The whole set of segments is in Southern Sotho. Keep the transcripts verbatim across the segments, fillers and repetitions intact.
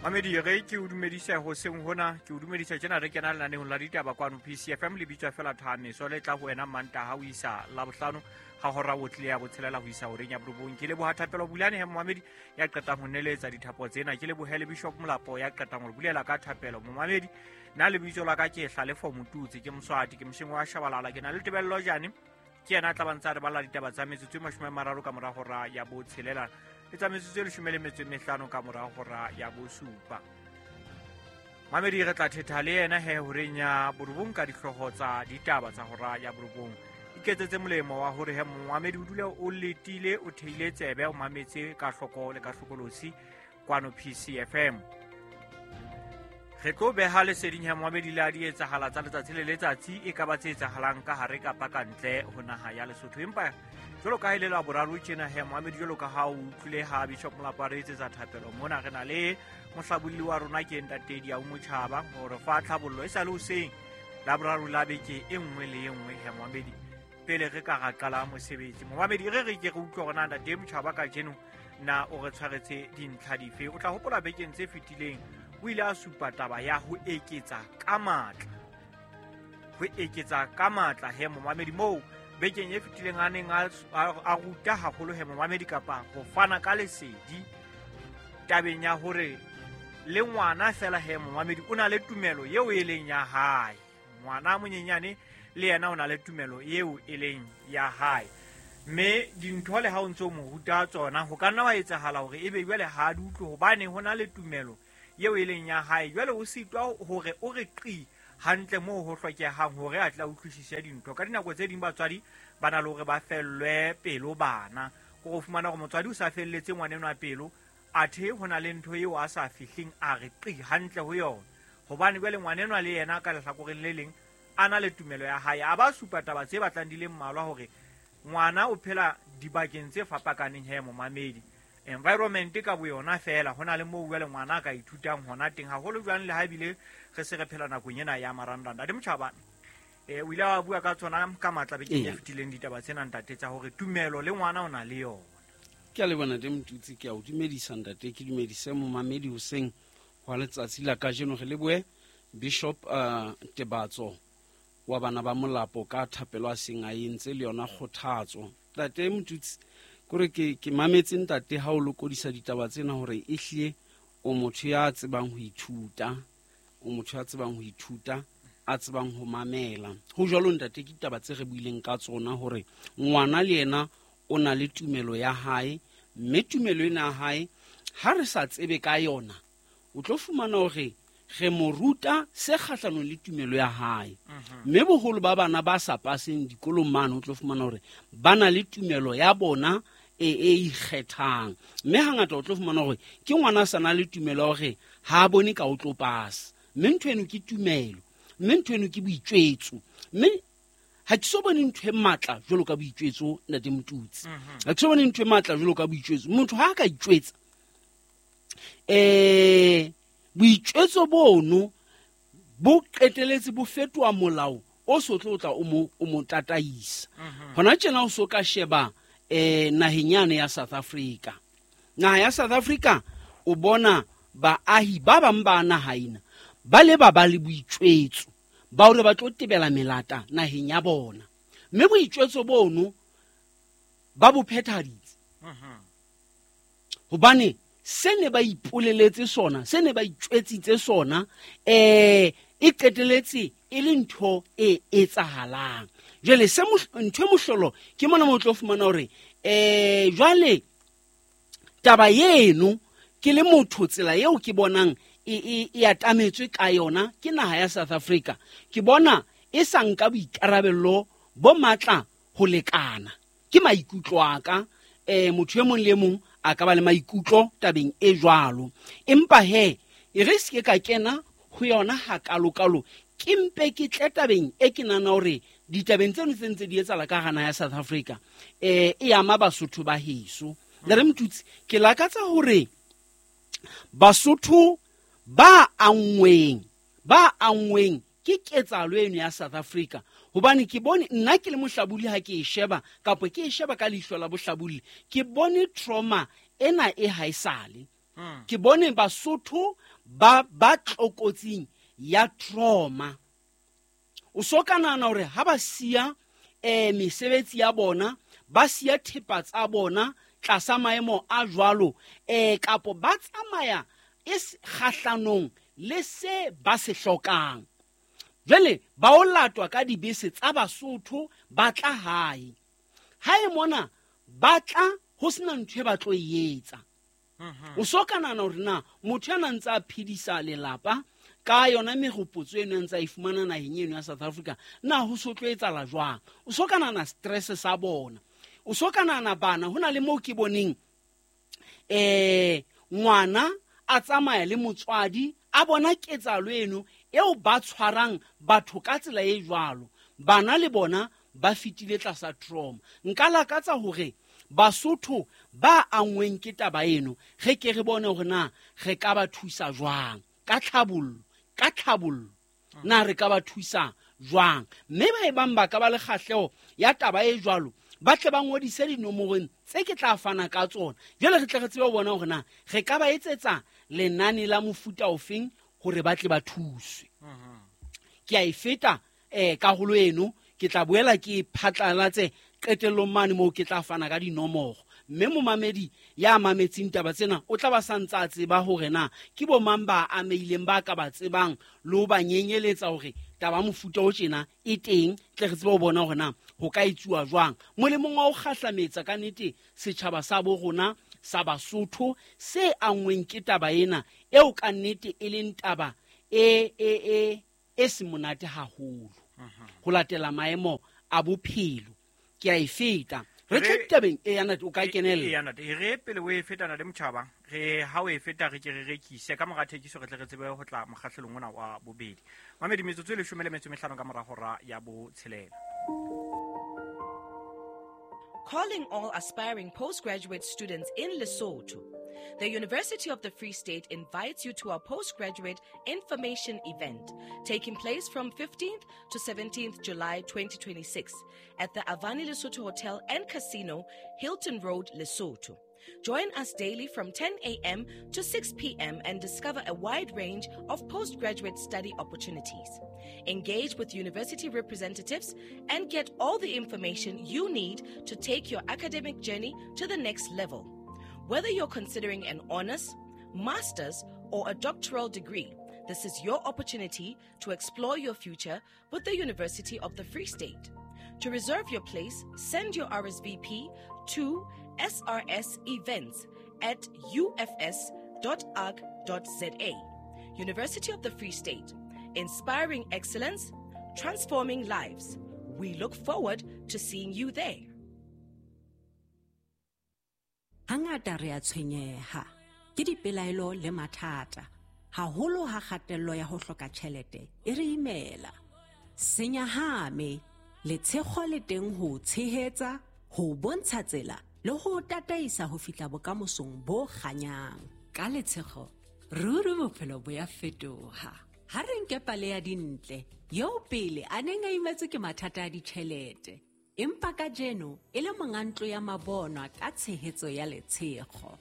Mamedi re ke o dumedise hoseng hona, ke o dumedisa tjena re kena lenaneong la ditaba kwano P C F M le bitswa fela Thameso le tla ho wena Mantaha ho isa Labohlano ha hora o tlile ya botshelela ho isa horeng ya borobong. Ke leboha Thapelo Bulane he momamedi ya qetang ho neletsa dithapo tsena. Ke lebohe le Bishop Molapo ya qetang ho bulela ka thapelo. Momamedi nna lebitso la ka ke Hlalefo Motutsi, ke Moswati, ke mosheng wa Shabalala, ke na le Tebello Jane, ke yena a tla ba ntse a re balla ditaba tsa metsotso e mashome a mararo ka mora hora ya botshelela le tsa metsotso e leshome le metso e mehlano ka mora hora ya bosupa. Mamedi re tla thetha le yena he horeng ya borobong ka dihlooho tsa ditaba tsa hora ya borobong. Iketsetse molemo wa hore he momamedi o dule o letile, o theile tsebe, o mametse ka hloko le ka hlokolosi kwano P C F M. Re tlo beha leseding ya momamedi le a di etsahala tsa letsatsi le letsatsi, e ka ba tse etsahalang ka hare kapa ka ntle ho naha ya Lesotho. Empa jwalo ka ha e le Laboraro tjena he momamedi, jwalo ka ha o utlwile ha Bishop Molapo a re etsetsa thapelo mona, re na le mohlabolli wa rona ke Ntate Diau Motjhaba hore fa tlhabollo e sa le hoseng Laboraro la beke e nngwe le e nngwe he momamedi pele re ka ra qala mosebetsi. Momamedi re re ke re utlwe hore na Ntate Motjhaba kajeno na o re tshwaretse dintlha dife. O tla hopola bekeng tse fetileng o ile a supa taba ya ho eketsa ka matla, ho eketsa ka matla he momamedi, moo bekeng e fetileng a neng a, a ruta haholo he momamedi kapa ho fana ka lesedi tabeng ya hore le ngwana fela he momamedi o na le tumelo eo e leng ya hae. Ngwana monyenyane le yena o na le tumelo eo e leng ya hae, mme dintho le ha o ntso mo ruta tsona ho ka nna wa etsahala hore ebe jwale ha a di utlwe hobane ho na le tumelo eo e leng ya hae. Jwale o sitwa hore o re qi hantle moo ho hlokehang hore a tla utlwisise dintho. Ka dinako tse ding batswadi ba na le hore ba fellwe pelo bana, ko fumana hore motswadi o sa felletse ngwanenwa pelo, athe ho na le ntho eo a sa fihleng a re qi hantle ho yona, hobane jwale ngwanenwa le yena ka lehlakoreng le leng a na le tumelo ya hae. A ba supa taba tse batlang di le mmalwa hore ngwana o phela dibakeng tse fapakaneng he momamedi. Environment ka boyona fela ho na le moo jwale ngwana a ka ithutang hona teng, haholo jwang le ha ebile re se re phela nakong ena ya marangrang. Ntate Motjhaba, eh o ile wa bua ka tsona ka matla bekeng e fetileng ditaba tsena ntate tsa hore tumelo le ngwana o na le yona. Ke a leboha Ntate Motutsi, ke a o dumedisa ntate, ke dumedise momamedi hoseng hwa letsatsi la kajeno. Re lebohe Bishop uh, Tebatso wa bana ba Molapo ka thapelo a seng a entse le yona kgothatso. Ntate Motutsi, kore ke ke mametse ntate ha o lokodisa ditaba tsena hore ehlile o motho ya tsebang ho ithuta, o motho ya tsebang ho ithuta, a tsebang ho mamela. Ho jwalo ntate, ke ditaba tse re buileng ka tsona hore ngwana le yena o na le tumelo ya hae, mme tumelo ena ya hae ha re sa tsebe ka yona o tlo fumana hore re mo ruta se kgahlanong le tumelo ya hae. Mme boholo ba bana ba sa paseng dikolong mane o tlo fumana hore ba na le tumelo ya bona e e ikgethang, mme hangata o tlo fumana hore ke ngwana a sa na le tumelo hore ha a bone ka o tlo pasa, mme ntho eno ke tumelo, mme ntho eno ke boitjwetso. Mme ha ke so bone ntho e matla jwalo ka boitjwetso Ntate Motutsi, ha ke so bone ntho e matla jwalo ka boitjwetso. Motho ha a ka itjwetsa eh boitjwetso bono bo qeteletse bo fetoha molao o so tlo tla o mo o mo tataisa. Hona tjena o so ka sheba eh naheng yane ya South Africa. Naha ya South Africa o bona baahi ba bang ba naha ena ba le ba ba le boitjwetso ba hore ba tlo tebela melata naheng ya bona, mme boitjwetso bono ba bo phethaditse hobane se ne ba ipoleletse sona, se ne ba itjwetsitse sona, eh e qeteletse e le ntho e etsahalang. Jwale se ntho e mohlolo ke mona mo tlo fumana hore eh jwale taba eno ke le motho tsela eo ke bonang e e e atametswe ka yona ke naha ya South Africa, ke bona e sa nka boikarabello bo matla ho lekana. Ke maikutlo a ka, eh motho e mong le mong a ka ba le maikutlo tabeng e jwalo, empa he e re se ka kena ho yona hakalokalo, ke mpe ke tle tabeng e ke nahana hore ditabeng tseno tse ntse di etsahala ka hara naha ya South Africa eh e ama Basotho ba heso. Ntate Motutsi, ke lakatsa hore Basotho ba anngweng ba anngweng ke ketsahalo eno ya South Africa, hobane ke bone nna ke le mohlabuli ha ke e sheba kapa ke e sheba ka leihlo la bohlabuli, ke bone trauma ena e haesale. Ke bone Basotho ba ba tlokotsing ya trauma. O so ka nahana hore ha ba siya eh mesebetsi ya bona, ba siya thepa tsa bona tlasa maemo a jwalo, eh kapo ba tsamaya e kgahlanong le se ba se hlokang. Jwale ba o latwa ka dibese tsa Basotho ba tla hae. Hae mona ba tla ho sena ntho e ba tlo e etsa. O so ka nahana hore na motho ya nang ntse a phedisa lelapa ka yona mehopotso eno a ntse a e fumana naheng eno ya South Africa, na ho so tlo etsahala jwang? O so ka nahana stress sa bona. O so ka nahana bana, ho na le moo ke boneng eh ngwana a tsamaya le motswadi a bona ketsahalo eno eo ba tshwarang batho ka tsela e jwalo. Bana le bona ba fetile tlasa trauma. Nka lakatsa hore Basotho ba angweng ke taba eno re ke re bone hore na re ka ba thusa jwang ka tlhabollo, ka tlhabollo na re ka ba thusa jwang. Mme ba e bang ba ka ba le kgahleho ya taba e jwalo, ba tle ba ngodise dinomorong tse ke tla fana ka tsona. Jwale re tle re tsebe ho bona hore na re ka ba etsetsa lenane la mofuta ofeng hore ba tle ba thuswe. Ke a e feta eh karolo eno, ke tla boela ke phatlalatse qetellong mane moo ke tla fana ka dinomoro. Mme momamedi ya mametseng taba tsena o tla ba sa ntse a tseba hore na ke bo mang ba ameileng ba ka ba tsebang le ho ba nyenyeletsa hore taba mofuta o tjena e teng, tle re tsebe ho bona hore na ho ka etsuwa jwang molemong wa ho kgahlametsa ka nnete setjhaba sa bo rona sa Basotho se angweng ke taba ena eo ka nnete e leng taba e e e e se monate haholo ho latela maemo a bophelo. Ke a e feta. Re tle ditabeng e ya ntate, o ka kenella. E ya ntate, re pele o e feta na le motjhaba, re ha o e feta re ke re rekise ka mora thekiso re tle re tsebe ho tla mokgahlelong ona wa bobedi. Mamedi, metsotso e leshome le metso e mehlano ka mora hora ya botshelela. Calling all aspiring postgraduate students in Lesotho. The University of the Free State invites you to our postgraduate information event taking place from fifteenth to seventeenth July twenty twenty-six at the Avani Lesotho Hotel and Casino, Hilton Road, Lesotho. Join us daily from ten a.m. to six p.m. and discover a wide range of postgraduate study opportunities. Engage with university representatives and get all the information you need to take your academic journey to the next level. Whether you're considering an honors, master's, or a doctoral degree, this is your opportunity to explore your future with the University of the Free State. To reserve your place, send your R S V P to S R S events at U F S dot arc dot Z A. University of the Free State, inspiring excellence, transforming lives. We look forward to seeing you there. Hangata re a tshwenyeha ke dipelaelo le mathata, haholo ha kgatello ya ho hloka tjhelete e re imela. Senyahame, letshego le teng ho tshehetsa, ho bontsha tsela le ho tataisa ho fihla bokamosong bo kganyang. Ka letshego, ruri bophelo bo ya fetoha. Ha re nke pale ya Dintle, eo pele a neng a imetswe ke mathata a ditjhelete, empa kajeno e le monga ntlo ya mabonwa ka tshehetso ya letshego.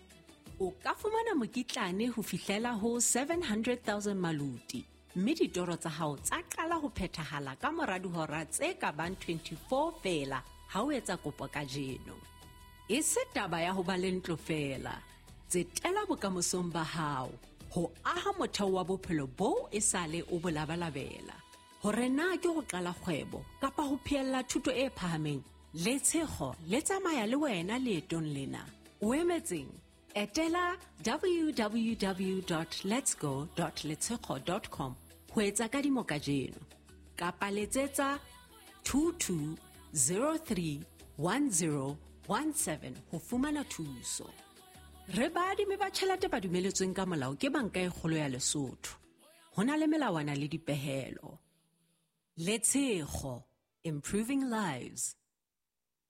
O ka fumana mokitlane ho fihlela ho seven hundred thousand maluti, mme ditoro tsa hao tsa qala ho phethahala ka mora dihora tse ka bang twenty-four feela ha o etsa kopo kajeno. E se taba ya ho ba le ntlo feela, tsetela bokamosong ba hao ho aha motheo wa bophelo boo e sale o bo labalabela. Hore na ke ho qala kgwebo kapa ho phehella thuto e phahameng, letshego le tsamaya le wena leetong lena. O emetseng? Etela w w w dot letsgo dot letshego dot com ho etsa kadimo kajeno, kapa letsetsa two two zero three one zero one seven ho fumana thuso. Re baadimi ba tjhelete ba dumeletsweng ka molao ke Banka e Kgolo ya Lesotho. Ho na le melawana le dipehelo. Letshego, improving lives.